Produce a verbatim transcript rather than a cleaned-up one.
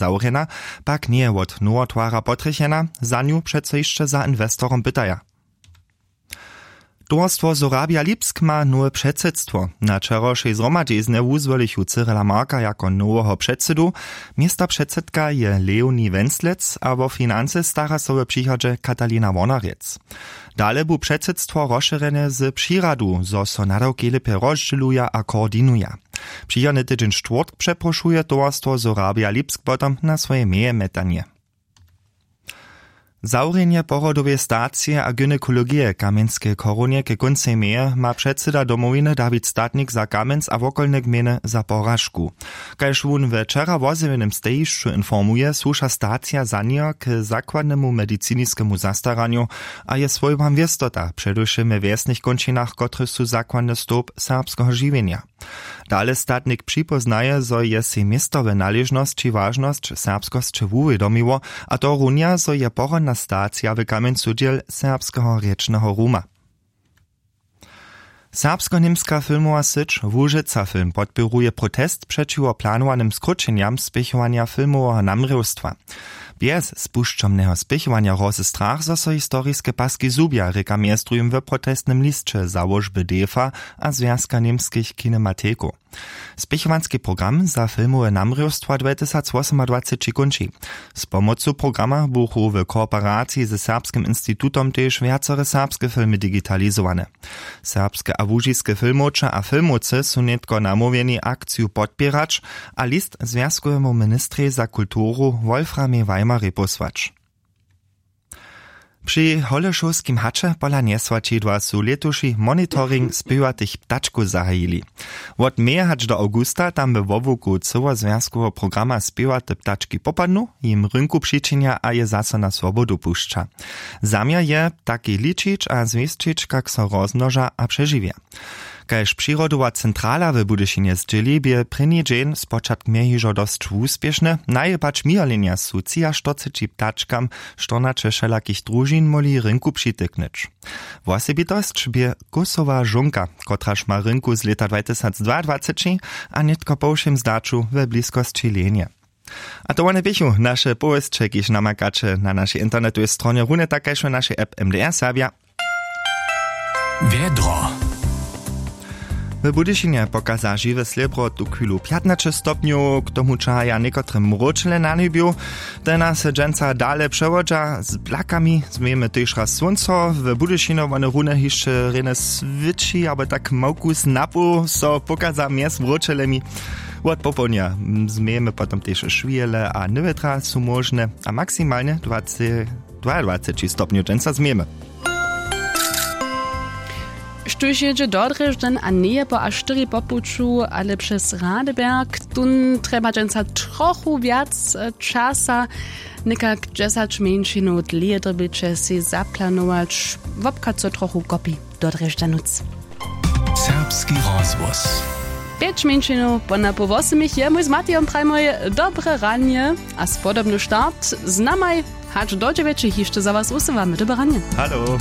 zawrjena, pak njeje wot nowotwara potrjechena. Za nju přeco hišće za inwestorom pytaja. Towarstwo Sorabia Lipsk ma nowe předsydstwo. Na wčerawšej zhromadźiznje wuzwolichu Cyrila Marka jako noweho předsydu. Městopředsydka je Leonie Wenslec a wo financy stara so w přichodźe Katalina Wornerjec. Dale bu předsydstwo rozšěrjene z přiradu, zo so nadawki lěpje rozdźěluja a koordinuja. Přichodny tydźeń štwórtk přeprošuje towarstwo Sorabia Lipsk potom na swoje meje metanje. Zawrjenje porodoweje stacije a gynekologije w Kamjenskeje chorunje ke kóncej meje ma předsyda Domowiny Dawid Statnik za Kamjenc a wokolne gmejny za poražku. Kaž wón we wčera wozjewjenym stejišću informuje, słuša stacija za njeho k zakładnemu mediciniskemu zastaranju a je swójbam wěstota, předewšěm we wjesnych kónčinach, kotrež su zakładny stołp serbskeho žiwjenja. Dale Statnik připóznaje, zo je sej městowe naležnosći wažnosć serbskosće wuwědomiło, a to runja, zo je porodna stacija w Kamjencu dźěl serbskeho rěčneho ruma. Serbsko-němska filmowa syć Łužica Film podpěruje protest přećiwo planowanym skróćenjam spěchowanja filmoweho namrěwstwa. Bjez spušćomneho spěchowanja roze strach, zo so historiske paski zhubja, rěka mjez druhim w protestnym lisće załožby defa a Zwjazka němskich kinematikow. Spěchowanski program za filmowe namrěwstwa dwetysacwosomadwaceći kónči. Z pomocu programa buchu w kooperaciji ze Serbskim institutom tež wjacore serbske filmy digitalizowane. Serbske a łužiske filmowče a filmowcy su nětko namołwjeni, akciju podpěrać a list zwjazkowemu ministrej za kulturu Wolframej Weimerej pósłać. Při Holešowskim haće pola njeswaćidła su lětuši monitoring spěwatych ptačkow zahajili. Wot meja hač do awgusta tam we wobłuku cyłozwjazkoweho programa spěwate ptački popadnu, jim rynku přičinja a je zaso na swobodu pušća. Zaměr je, ptaki ličić a zwěsćić, kak so rozmnoža a přežiwja. Kaž přirodowa centrala w Budyšinje zdźěli, bě prěni dźeń spočatk měj hižo dosć wuspěšny. Najebać mějerljenja su třiaštyrceći ptačkam štyrnaće wšelakich družin móhli rynku přityknyć. Wosebitosć bě kósowa žónka, kotraž ma rynku z lěta dwatysacdwaadwaceći a nětko po wšěm zdaću we bliskosći lenje. A to wone běchu naše powěsće, kiž namakaće na našej internetowej stronje, runje tak kaž w našej app M D R Serbja. Wjedro. W Budyšinje pokaza žiwe slěbro tuchwilu pjatnaće stopnjow, k tomu čahaja někotre mróčele na njebju. Te nas dźensa dale přewodźa z blakami, změjemy tež raz słónco. W Budyšinje wone runje hišće rjene swětši abo tak małkus napoł so pokaza mjez mróčelemi. Wot popołdnja změjemy potom tež šwěle a nywětra su móžne a maksimalnje dwaceći dwaadwaceći stopnjow dźensa změjemy. Štóž jědźe do Drježdźan a njeje po a štyri po puću, ale přez Radeberg, tón trjeba dźensa trochu wjac, e, časa, někak dźesać mjeńšinow dlěje dyrbiće sej zaplanować, wobchad so trochu kopi do Drježdźanuc. Serbski rozhłos. Pjeć mjeńšinow po napoł wosomich je mój z Matijom prajmoj dobre ranje a spodobny start z namaj hač do dźewjećich hišće za was wusyłamy dobre ranje. Halo.